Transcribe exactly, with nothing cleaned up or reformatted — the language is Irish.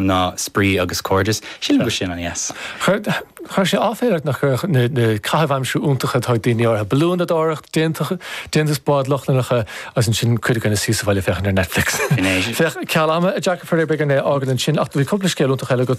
Ná spraoi agus cairdeas. Sílim go sin an yes. Chuir sé áiféireach nach na caithimh aimsire iontacha atá ag daoine orthu. Balúnadóireacht, déantús bád Lochlannacha agus ansin cuid againn suí sa bhaile féachaint ar Netflix. Féach ceal ama a Jack a b'fhéidir é a fhágáil ansin ach bhí cúpla scéal iontach eile agat.